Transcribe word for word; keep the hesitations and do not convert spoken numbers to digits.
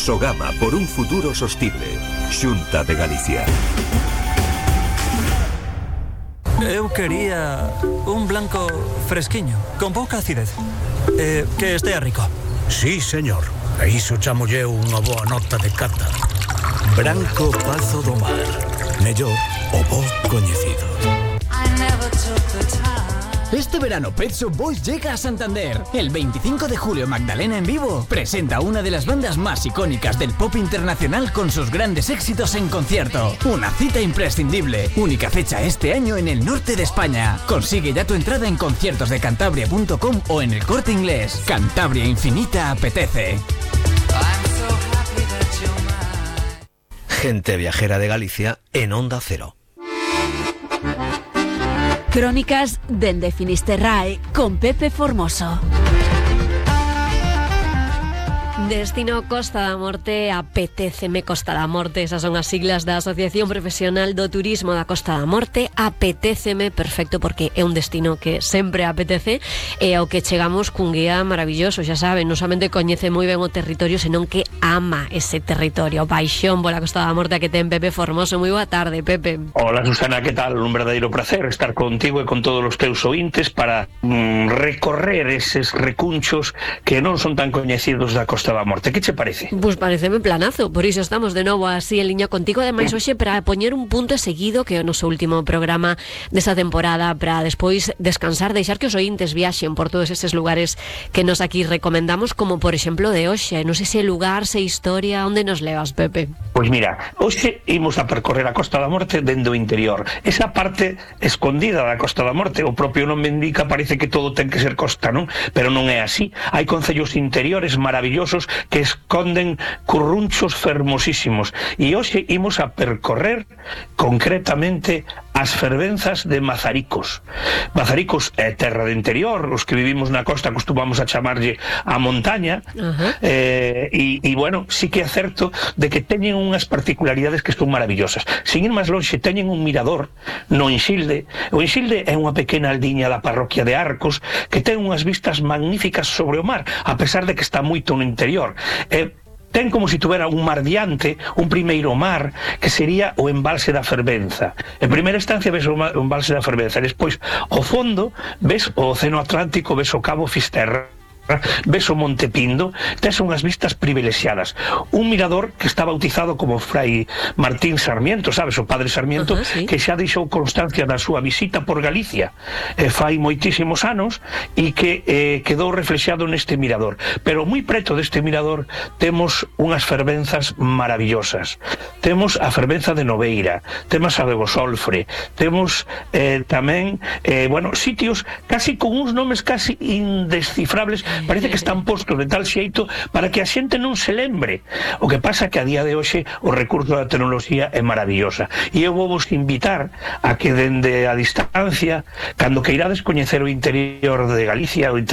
Sogama por un futuro sostible. Xunta de Galicia. Eu quería un blanco fresquiño, con pouca acidez. Eh, que estea rico. Sí, señor. A iso chamolle unha boa nota de cata. Branco Pazo do Mar. Mellor o bo coñecido. Este verano Pet Shop Boys llega a Santander. El veinticinco de julio Magdalena en vivo presenta una de las bandas más icónicas del pop internacional con sus grandes éxitos en concierto. Una cita imprescindible. Única fecha este año en el norte de España. Consigue ya tu entrada en conciertos de cantabria punto com o en el Corte Inglés. Cantabria Infinita apetece. Gente viajera de Galicia en Onda Cero. Crónicas dende Finisterrae con Pepe Formoso. Destino Costa da Morte, apetéceme Costa da Morte, esas son as siglas da Asociación Profesional do Turismo da Costa da Morte. Apetéceme, perfecto, porque é un destino que sempre apetece e ao que chegamos cun guía maravilloso, xa saben, non somente coñece moi ben o territorio, senón que ama ese territorio. Paixón pola Costa da Morte que ten Pepe Formoso. Moi boa tarde, Pepe. Hola, Susana, que tal? Un verdadeiro placer estar contigo e con todos os teus ointes para mm, recorrer eses recunchos que non son tan coñecidos da Costa da Morte. Que che parece? Pois pareceme planazo, por iso estamos de novo así en liña contigo, ademais hoxe para poñer un punto seguido que é o noso último programa desa temporada, para despois descansar, deixar que os ointes viaxen por todos eses lugares que nos aquí recomendamos, como por exemplo de hoxe. Non sei se lugar, se historia, onde nos levas, Pepe? Pois mira, hoxe imos a percorrer a Costa da Morte dende o interior, esa parte escondida da Costa da Morte. O propio nome indica, parece que todo ten que ser costa, non? Pero non é así. Hai concellos interiores maravillosos que esconden currunchos fermosísimos, e hoxe imos a percorrer concretamente as fervenzas de Mazaricos. Mazaricos é terra de interior, os que vivimos na costa acostumamos a chamarlle a montaña. Uh-huh. eh, e, e bueno, sí que é certo de que teñen unhas particularidades que son maravillosas. Sin ir máis longe, teñen un mirador no Inxilde. O Inxilde é unha pequena aldiña da parroquia de Arcos que ten unhas vistas magníficas sobre o mar, a pesar de que está moito no interior. Eh, ten como se tuvera un mar diante, un primeiro mar, que sería o embalse da Fervenza. En primeira instancia ves o embalse da Fervenza, despois, ao fondo, ves o Océano Atlántico, ves o Cabo Fisterra, ves o Monte Pindo, tes unhas vistas privilexiadas. Un mirador que está bautizado como Fray Martín Sarmiento, sabes, o padre Sarmiento, uh-huh, sí, que xa deixou constancia da súa visita por Galicia eh, fai moitísimos anos, e que eh, quedou reflexado neste mirador. Pero moi preto deste mirador temos unhas fervenzas maravillosas. Temos a fervenza de Noveira, temos a de Bosolfre, temos eh, tamén eh, bueno, sitios casi con uns nomes casi indescifrables. Parece que están postos de tal xeito para que a xente non se lembre. O que pasa que a día de hoxe o recurso da tecnoloxía é maravillosa, e eu vou vos invitar a que dende a distancia, cando queirades coñecer o interior de Galicia, o interior